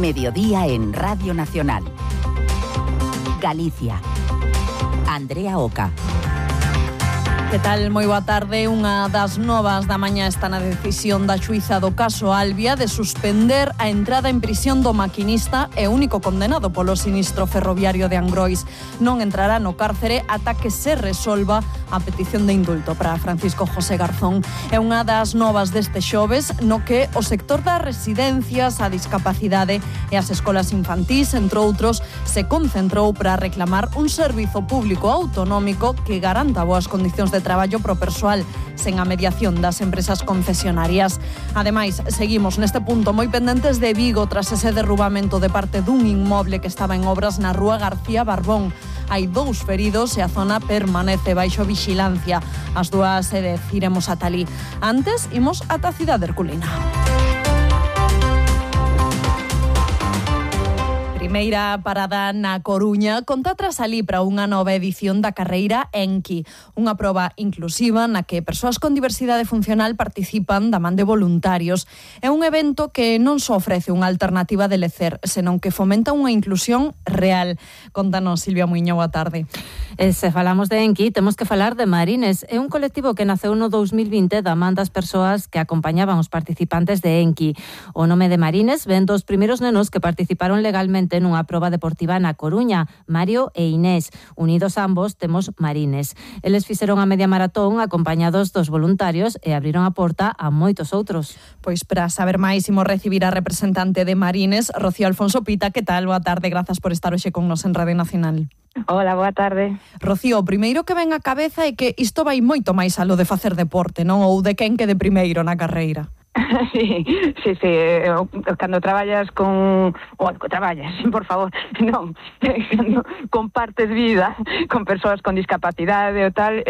Mediodía en Radio Nacional. Galicia. Andrea Oca. Que tal? Moi boa tarde. Unha das novas da mañá está na decisión da xuíza do caso Albia de suspender a entrada en prisión do maquinista e único condenado polo sinistro ferroviario de Angrois. Non entrará no cárcere ata que se resolva a petición de indulto para Francisco José Garzón. É unha das novas deste xoves no que o sector das residencias, a discapacidade e as escolas infantís, entre outros, se concentrou para reclamar un servizo público autonómico que garanta boas condicións de traballo pro persoal sen a mediación das empresas concesionarias. Ademais, seguimos neste punto moi pendentes de Vigo tras ese derrubamento de parte dun inmoble que estaba en obras na rúa García Barbón. Hai 2 feridos e a zona permanece baixo vixilancia. As 2:10 iremos ata alí. Antes, imos ata a cidade herculina. Primeira parada na Coruña, conta tras alí para unha nova edición da carreira Enki, unha proba inclusiva na que persoas con diversidade funcional participan da man de voluntarios. É un evento que non só ofrece unha alternativa de lecer, senón que fomenta unha inclusión real. Contanos, Silvia Muiño, boa tarde. Se falamos de Enki, temos que falar de Marines. É un colectivo que naceu no 2020 da man das persoas que acompañaban os participantes de Enki. O nome de Marines ven dos primeiros nenos que participaron legalmente nunha proba deportiva na Coruña, Mario e Inés. Unidos ambos, temos Marines. Eles fixeron a media maratón acompañados dos voluntarios e abriron a porta a moitos outros. Pois para saber máis, imos recibir a representante de Marines, Rocío Alfonso Pita. Que tal? Boa tarde, grazas por estar hoxe con nos en Radio Nacional. Hola, boa tarde. Rocío, o primeiro que ven á cabeza é que isto vai moito máis aló de facer deporte, non? Ou de quen quede primeiro na carreira. Sí. Cando traballas con... traballas, por favor, non. Cando compartes vida con persoas con discapacidade ou tal,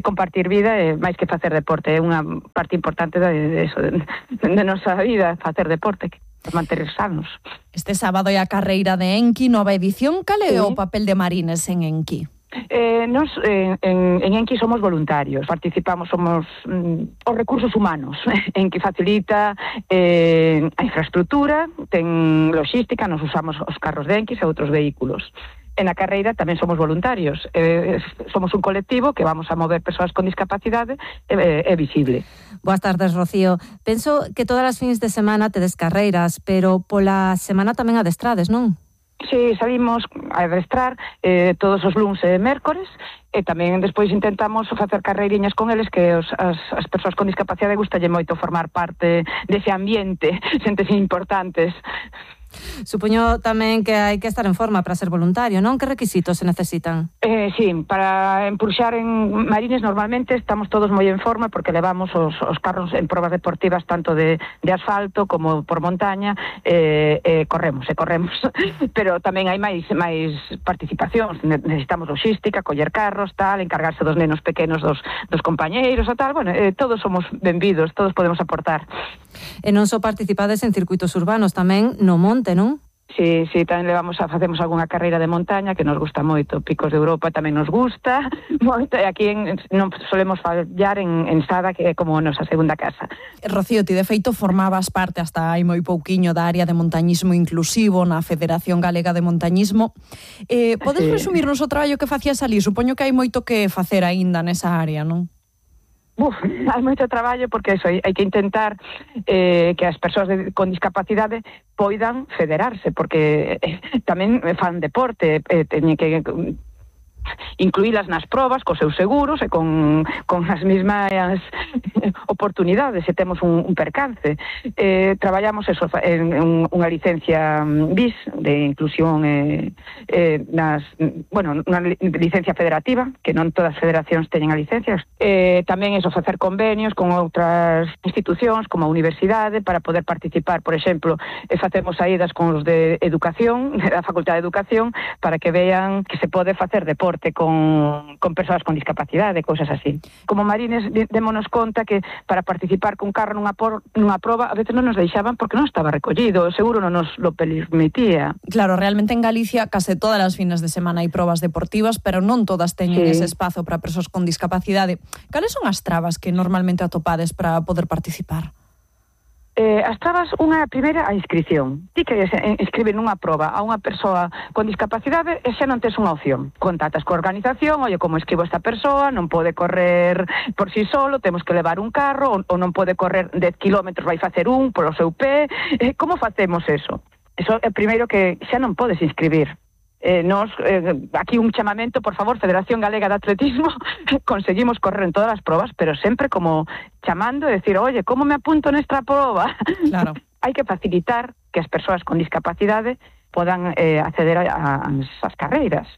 compartir vida é máis que facer deporte. É unha parte importante de nosa vida, facer deporte, manter sanos. Este sábado é a carreira de Enki, nova edición. Cal é o papel de Marines en Enki? Nos en Enki somos voluntarios, participamos, somos os recursos humanos en que facilita a infraestructura, ten logística, nos usamos os carros de Enki e outros vehículos. En a carreira tamén somos voluntarios, somos un colectivo que vamos a mover persoas con discapacidade é visible. Boas tardes, Rocío. Penso que todas as fins de semana tedes carreiras, pero pola semana tamén adestrades, non? Sí, salimos a adestrar todos os luns e mércores e tamén despois intentamos facer carreiriñas con eles que as persoas con discapacidade gustalle moito formar parte dese ambiente, xentes importantes. Supoño tamén que hai que estar en forma para ser voluntario, non? Que requisitos se necesitan? Sí, para empurxar en Marines normalmente estamos todos moi en forma porque levamos os carros en probas deportivas tanto de asfalto como por montaña, corremos, pero tamén hai máis participacións, necesitamos logística, coller carros, tal, encargarse dos nenos pequenos dos compañeiros e tal, bueno, todos somos benvidos, todos podemos aportar. E non só participades en circuitos urbanos, tamén no monte, non? Sí, tamén facemos algunha carreira de montaña que nos gusta moito, Picos de Europa tamén nos gusta moito, e aquí non solemos fallar en Sada, que é como a nosa segunda casa. Rocío, ti de feito formabas parte hasta hai moi pouquiño da área de montañismo inclusivo na Federación Galega de Montañismo. Podes resumirnos o traballo que facías ali? Supoño que hai moito que facer aínda nesa área, non? Hai moito traballo porque hai que intentar que as persoas con discapacidade poidan federarse, porque tamén fan deporte, teñen que incluílas nas probas cos seus seguros e con as mesmas oportunidades se temos un percance. Traballamos eso en unha licencia BIS de inclusión unha licencia federativa, que non todas as federacións teñen a licencia. Tamén eso, facer convenios con outras institucións como a universidade para poder participar, por exemplo, facemos saídas con os de educación, da Facultade de Educación, para que vean que se pode facer deporte con persoas con discapacidade, cousas así. Como Marines, démonos conta que para participar cun carro nunha proba a veces non nos deixaban porque non estaba recollido, seguro non nos lo permitía. Claro, realmente en Galicia case todas as fines de semana hai probas deportivas, pero non todas teñen ese espazo para persoas con discapacidade. Cales son as trabas que normalmente atopades para poder participar? As trabas, unha primeira, a inscripción. Ti queres inscribir nunha proba a unha persoa con discapacidade e xa non tes unha opción. Contactas coa organización, oye, como escribo esta persoa, non pode correr por si solo, temos que levar un carro, ou non pode correr 10 kilómetros, vai facer un polo seu pé. Como facemos eso? Eso é primeiro que xa non podes inscribir. Aquí un chamamento, por favor, Federación Galega de Atletismo, conseguimos correr en todas as probas, pero sempre como chamando e decir, oye, como me apunto nesta proba? Claro. Hai que facilitar que as persoas con discapacidade podan acceder ás carreiras.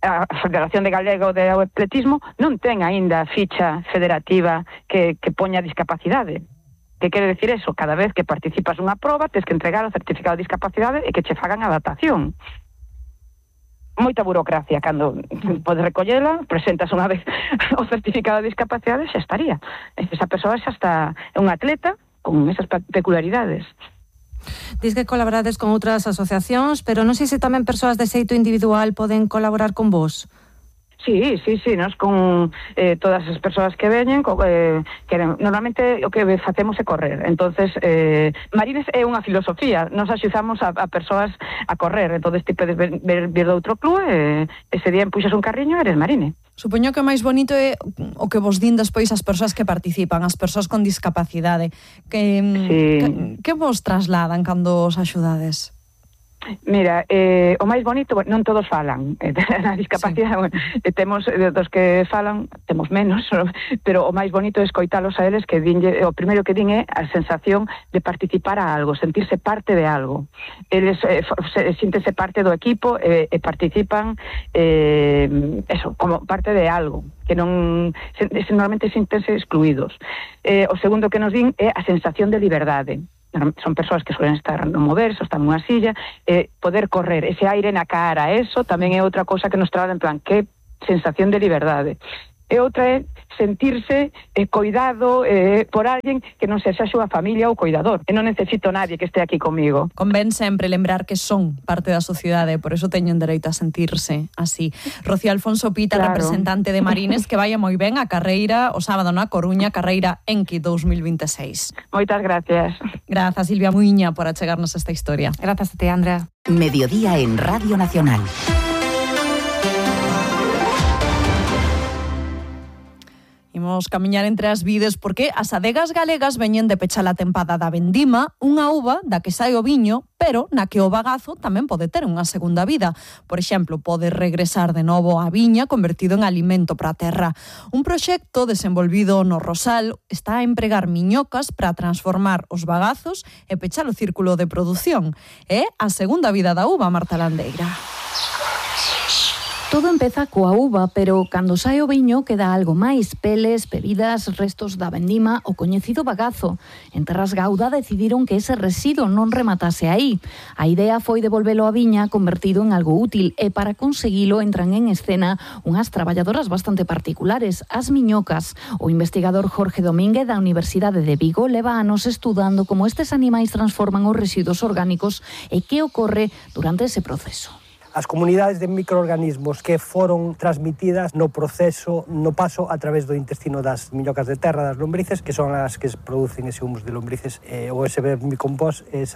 A Federación de Galega de Atletismo non ten aínda ficha federativa que poña discapacidade. Que quere decir eso? Cada vez que participas nunha proba, tens que entregar o certificado de discapacidade e que che fagan a adaptación. Moita burocracia, cando podes recollela, presentas unha vez o certificado de discapacidade, xa estaría. Esa persoa xa está un atleta con esas peculiaridades. Diz que colaborades con outras asociacións, pero non sei se tamén persoas de xeito individual poden colaborar con vos. Sí, nós con todas as persoas que veñen, normalmente o que facemos é correr. Entonces, Marines é unha filosofía, nos axudamos a persoas a correr. Entonces, ti podes vir de outro club e ese día empuxas un carriño e eres Marine. Supoño que o máis bonito é o que vos din despois as persoas que participan, as persoas con discapacidade. Que vos trasladan cando os axudades? Mira, o máis bonito, non todos falan na discapacidade, temos dos que falan, temos menos, pero o máis bonito é escoitalos a eles, que o primeiro que din é a sensación de participar a algo, sentirse parte de algo. Eles síntense parte do equipo e participan como parte de algo, que non normalmente síntense excluídos. O segundo que nos din é a sensación de liberdade. Son persoas que suelen estar no moverse, están nunha silla, poder correr, ese aire na cara, eso tamén é outra cousa que nos trae en plan, que sensación de liberdade. E outra é sentirse coidado por alguén que non sexa a súa familia ou coidador. E non necesito nadie que este aquí comigo. Convén sempre lembrar que son parte da sociedade, por eso teñen dereito a sentirse así. Rocío Alfonso Pita, claro, representante de Marines, que vaya moi ben a carreira o sábado na Coruña, carreira Enki 2026. Moitas gracias. Grazas, Silvia Muiña, por achegarnos esta historia. Grazas a ti, Andrea. Mediodía en Radio Nacional. Imos camiñar entre as vides porque as adegas galegas veñen de pechar a tempada da vendima, unha uva da que sai o viño, pero na que o bagazo tamén pode ter unha segunda vida. Por exemplo, pode regresar de novo á viña convertido en alimento para a terra. Un proxecto desenvolvido no Rosal está a empregar miñocas para transformar os bagazos e pechar o círculo de produción. É a segunda vida da uva, Marta Landeira. Todo empeza coa uva, pero cando sae o viño queda algo máis: peles, bebidas, restos da vendima, o coñecido bagazo. En Terras Gauda decidiron que ese residuo non rematase aí. A idea foi devolvelo á viña convertido en algo útil, e para conseguilo entran en escena unhas traballadoras bastante particulares, as miñocas. O investigador Jorge Domínguez da Universidade de Vigo leva anos estudando como estes animais transforman os residuos orgánicos e que ocorre durante ese proceso. As comunidades de microorganismos que foron transmitidas no proceso, no paso a través do intestino das miñocas de terra, das lombrices, que son as que producen ese humus de lombrices, ou ese vermicompost, es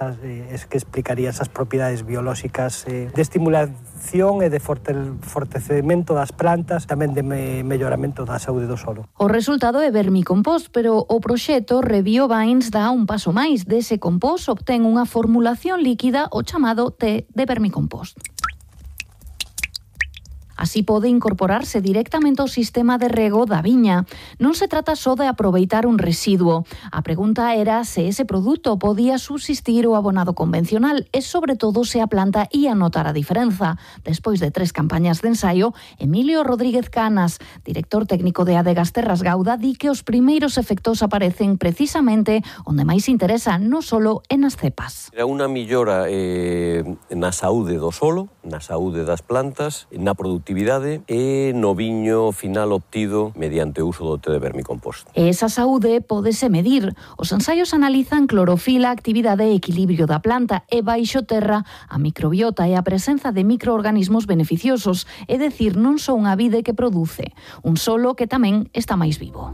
que explicaría esas propiedades biolóxicas de estimulación e de fortalecemento das plantas, tamén de melloramento da saúde do solo. O resultado é vermicompost, pero o proxecto ReBioVines dá un paso máis. Dese compost obtén unha formulación líquida, o chamado té de vermicompost. Así pode incorporarse directamente ao sistema de rego da viña. Non se trata só de aproveitar un residuo. A pregunta era se ese produto podía subsistir o abonado convencional e, sobre todo, se a planta ia notar a diferenza. Despois de 3 campañas de ensaio, Emilio Rodríguez Canas, director técnico de Adegas Terras Gauda, di que os primeiros efectos aparecen precisamente onde máis interesa, non só en as cepas. Era unha millora na saúde do solo, na saúde das plantas, na produtividade e no viño final obtido mediante o uso do té de vermicompost. Esa saúde pódese medir. Os ensaios analizan clorofila, actividade e equilibrio da planta e baixo terra a microbiota e a presenza de microorganismos beneficiosos, é dicir, non só unha vide que produce, un solo que tamén está máis vivo.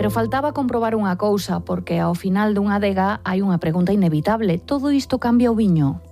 Pero faltaba comprobar unha cousa, porque ao final dunha adega hai unha pregunta inevitable. Todo isto cambia o viño?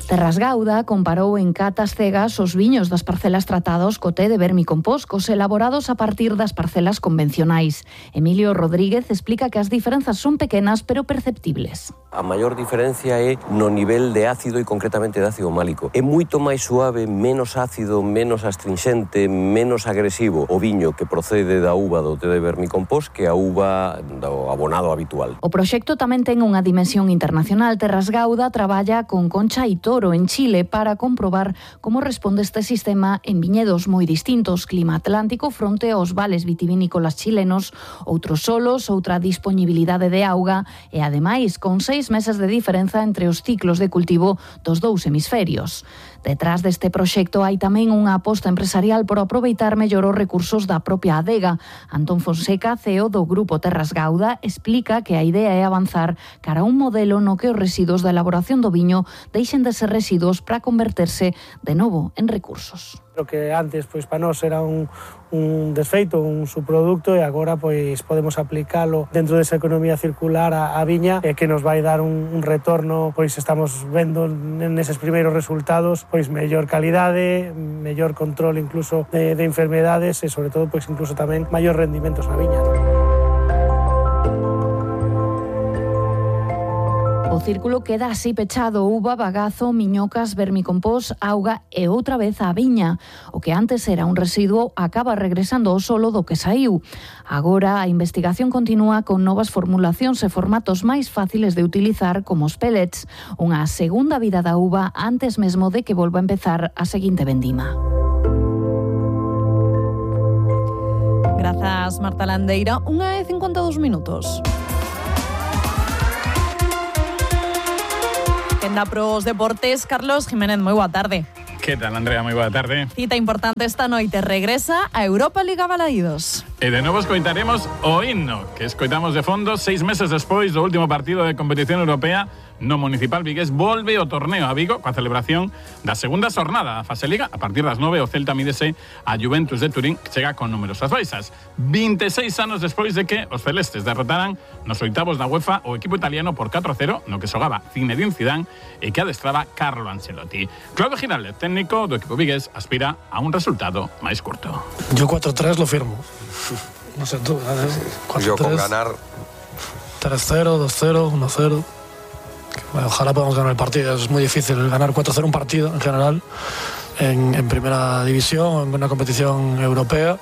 Terras Gauda comparou en catas cegas os viños das parcelas tratados co té de vermicompost cos elaborados a partir das parcelas convencionais. Emilio Rodríguez explica que as diferenzas son pequenas pero perceptibles. A maior diferencia é no nivel de ácido e concretamente de ácido málico. É moito máis suave, menos ácido, menos astringente, menos agresivo o viño que procede da uva do té de vermicompost que a uva do abonado habitual. O proxecto tamén ten unha dimensión internacional. Terras Gauda traballa con Concha e Toro en Chile para comprobar como responde este sistema en viñedos moi distintos, clima atlántico fronte aos vales vitivinícolas chilenos, outros solos, outra disponibilidade de auga e, ademais, con 6 meses de diferenza entre os ciclos de cultivo dos dous hemisferios. Detrás deste proxecto hai tamén unha aposta empresarial por aproveitar mellor os recursos da propia adega. Antón Fonseca, CEO do Grupo Terras Gauda, explica que a idea é avanzar cara a un modelo no que os residuos da elaboración do viño deixen de ser residuos para converterse de novo en recursos. Lo que antes para nós era un desfeito, un subproducto, e agora podemos aplicalo dentro desa economía circular a viña, que nos vai dar un retorno, estamos vendo neses primeiros resultados mellor calidade, mellor control incluso de enfermedades e sobre todo incluso tamén maior rendimentos na viña. O círculo queda así pechado: uva, bagazo, miñocas, vermicompost, auga e outra vez a viña. O que antes era un residuo acaba regresando ao solo do que saiu. Agora a investigación continúa con novas formulacións e formatos máis fáciles de utilizar, como os pellets, unha segunda vida da uva antes mesmo de que volva a empezar a seguinte vendima. Grazas, Marta Landeira. 1:52 minutos. Quenda pros deportes, Carlos Jiménez, moi boa tarde. Que tal, Andrea? Moi boa tarde. Cita importante esta noite, regresa a Europa Liga Balaídos. E de novo escoitaremos o himno que escoitamos de fondo 6 meses despois do último partido de competición europea. No Municipal Vigués volve o torneo a Vigo coa celebración da segunda xornada da fase Liga. A partir das 9 o Celta mídese a Juventus de Turín, que chega con numerosas baixas. 26 anos despois de que os celestes derrotaran nos oitavos da UEFA o equipo italiano por 4-0, no que xogaba Zinedine Zidane e que adestraba Carlo Ancelotti. Claudio Giraldez, técnico do equipo vigués, aspira a un resultado máis curto. Yo 4-3 lo firmo. No sé tú. 4-3. Yo con ganar 3-0, 2-0, 1-0. Bueno, ojalá podamos ganar el partido. Es muy difícil ganar 4-0 un partido en general en primera división, en una competición europea.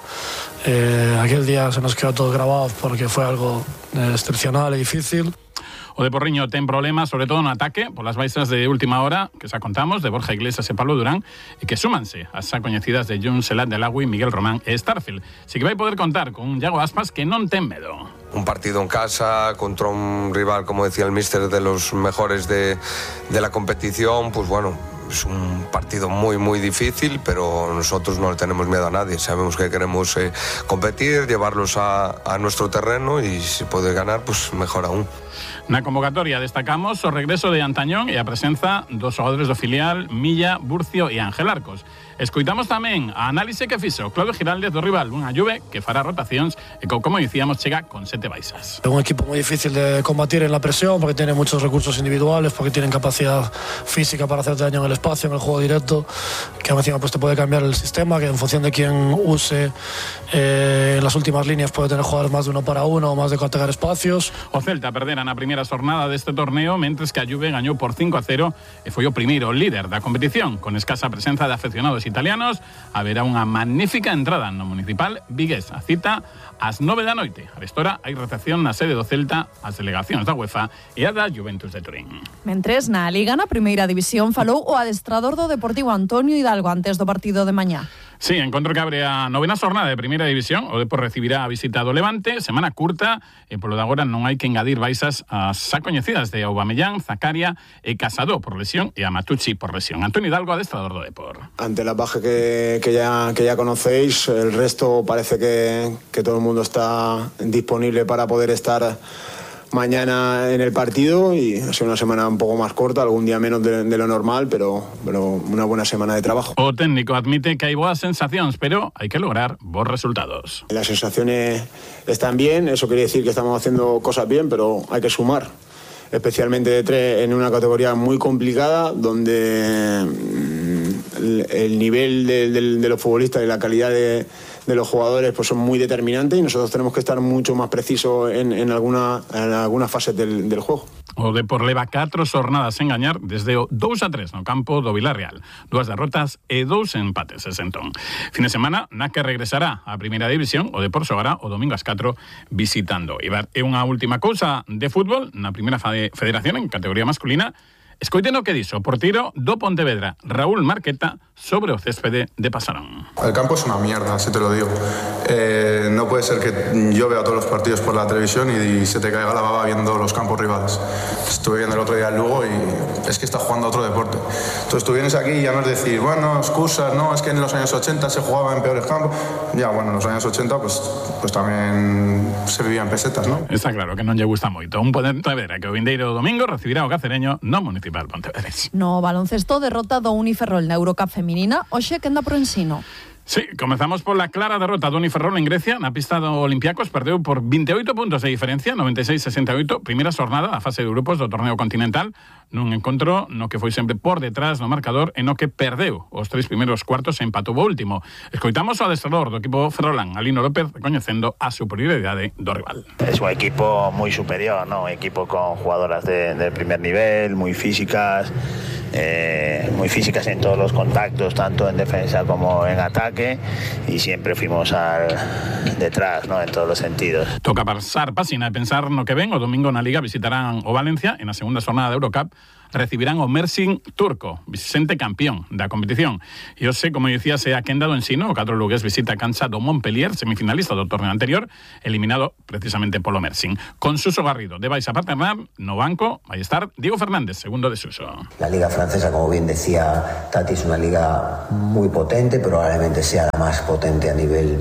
Aquel día se nos quedó todo grabado porque fue algo excepcional y difícil. O de Porriño ten problemas, sobre todo no ataque, polas baixas de última hora, que xa contamos, de Borja Iglesias e Pablo Durán, e que súmanse as xa coñecidas de Jun Selat de Lagui, Miguel Román e Starfield. Si que vai poder contar con un Iago Aspas que non ten medo. Un partido en casa contra un rival, como decía el míster, de los mejores de la competición, pues bueno, es un partido muy muy difícil, pero nosotros no le tenemos miedo a nadie. Sabemos que queremos competir, llevarlos a nuestro terreno, y si puede ganar, pues mejor aún. Na convocatoria destacamos o regreso de Antañón e a presenza dos xogadores do filial Milla, Burcio e Ángel Arcos. Escoitamos tamén a análise que fixo Claudio Giraldez do rival, unha Juve que fará rotacións e como dicíamos chega con 7 baixas. Un equipo muy difícil de combatir en la presión porque tiene muchos recursos individuales, porque tienen capacidad física para hacer daño en el espacio, en el juego directo, que encima te puede cambiar el sistema, que en función de quién use en las últimas líneas puede tener jugadores más de 1 para 1 o más de atacar espacios. O Celta perdera na primeira xornada deste torneo, mentres que a Juve gañou por 5-0 e foi o primeiro líder da competición. Con escasa presenza de afeccionados italianos, haberá unha magnífica entrada no Municipal Vigués. A cita ás 9 da noite. A restora hai recepción na sede do Celta, as delegacións da UEFA e a da Juventus de Turín. Mentres na Liga, na primeira división, falou o adestrador do Deportivo Antonio Hidalgo antes do partido de mañá. Sí, encontro que abre a 9ª xornada de primeira división. O Depor recibirá a visita do Levante, semana curta, e polo de agora non hai que engadir baixas as xa coñecidas de Aubameyang, Zakaria e Casado por lesión e a Matucci por lesión. Antonio Hidalgo, adestrador do Depor. Ante la baja que ya conocéis, el resto parece que todo el mundo está disponible para poder estar mañana en el partido y ha sido una semana un poco más corta, algún día menos de lo normal, pero una buena semana de trabajo. O técnico admite que hay buenas sensaciones, pero hay que lograr buenos resultados. Las sensaciones están bien, eso quiere decir que estamos haciendo cosas bien, pero hay que sumar. Especialmente de 3 en una categoría muy complicada donde el nivel de los futbolistas y la calidad de los jugadores pues son muy determinantes y nosotros tenemos que estar mucho más precisos en algunas fases del juego. O Depor leva 4 xornadas sen gañar desde o 2-3 no campo do Villarreal. 2 derrotas e 2 empates ese entón. Fin de semana na que regresará a primeira división, o Depor xogará o domingo ás 4 visitando Eibar. E unha última cousa de fútbol na primeira federación en categoría masculina. Escoiten o que dixo o porteiro do Pontevedra, Raúl Marqueta, sobre o céspede de Pasarón. El campo es una mierda, si te lo digo. No puede ser que yo vea todos los partidos por la televisión y se te caiga la baba viendo los campos rivales. Estuve viendo el otro día el Lugo y es que está jugando a otro deporte. Entonces tú vienes aquí y ya no es decir, bueno, excusas, no, es que en los años 80 se jugaba en peores campos. Ya, bueno, en los años 80 pues también se vivía en pesetas, ¿no? Está claro que non lle gusta moito. Un Pontevedra que o vindeiro domingo recibirá o Cacereño no Municipal Pontevedrés. No baloncesto, derrota do Uniferrol na Eurocup feminina, hoxe quenda pro Ensino. Sí, comezamos pola clara derrota do Uniferrol en Grecia. Na pista do Olympiacos perdeu por 28 puntos de diferencia, 96-68, primeira xornada da fase de grupos do torneo continental, nun encontro no que foi sempre por detrás no marcador e no que perdeu os 3 primeiros cuartos e empatou o último. Escoitamos o adestrador do equipo ferrolán, Alino López, recoñecendo a superioridade do rival. Es un equipo muy superior, ¿no? Un equipo con jugadoras de primer nivel, muy físicas en todos los contactos, tanto en defensa como en ataque, y siempre fuimos detrás, ¿no? En todos los sentidos. Toca pasar páxina e pensar no que ven. O domingo na Liga visitarán o Valencia e na segunda xornada de Eurocup recibirán o Mersin turco, vicente campeón da competición. E hoxe, como dicía, se a quenda do Ensino, o 4 lugués visita a cancha do Montpellier, semifinalista do torneo anterior, eliminado precisamente polo Mersin. Con Suso Garrido de Baixa Paternal, no banco vai estar Diego Fernández, segundo de Suso. La liga francesa, como bien decía Tati, es una liga muy potente, probablemente sea la más potente a nivel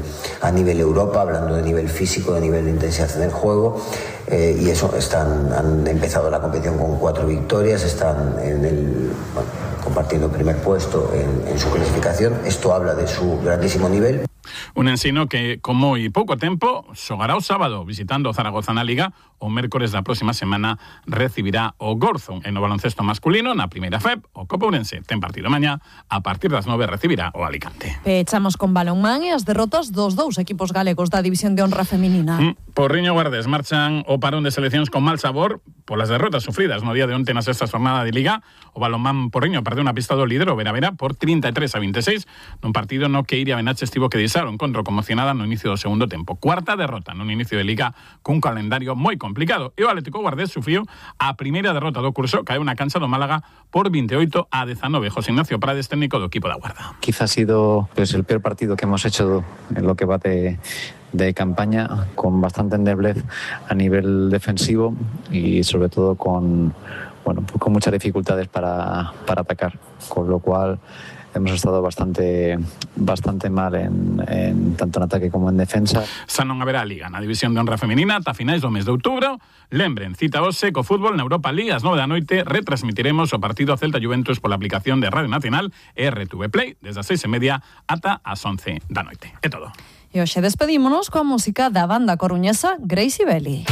Europa, hablando de nivel físico, de nivel de intensidad en el juego, y eso han empezado la competición con 4 victorias, están compartiendo el primer puesto en su clasificación. Esto habla de su grandísimo nivel. Un Ensino que, con moi pouco tempo, xogará o sábado visitando o Zaragoza na Liga. O mércores da próxima semana recibirá o Gorzo. En o baloncesto masculino, na primeira FEP, o Copa Ourense ten partido mañá. A partir das 9 recibirá o Alicante. Pechamos con balonmán e as derrotas dos 2 equipos galegos da División de Honra feminina. Porriño e Guardés marchan o parón de seleccións con mal sabor polas derrotas sufridas no día de onte na sexta xornada de Liga. O balonmán Porriño perdeu na pista do líder, o Veravera, por 33-26, nun partido no que Iria Benache estivo que deixar o encontro conmocionada no inicio do segundo tempo. Cuarta derrota nun inicio de Liga cun calendario moi complicado. E o Atlético Guardés sufriu a primeira derrota do curso, caeu na cancha do Málaga por 28-19. José Ignacio Prades, técnico do equipo da Guarda. Quizá ha sido el peor partido que hemos hecho en lo que va de campaña, con bastante endeblez a nivel defensivo y sobre todo con muchas dificultades para atacar, con lo cual hemos estado bastante mal en tanto en ataque como en defensa. Xa non haberá Liga na División de Honra feminina ata finais do mes de outubro. Lembren, cita hoxe co fútbol na Europa League ás 9 da noite. Retransmitiremos o partido Celta Juventus pola aplicación de Radio Nacional e RTV Play desde as 6:30 ata as 11 da noite. É todo. E hoxe despedímonos coa música da banda coruñesa Gracie Belli.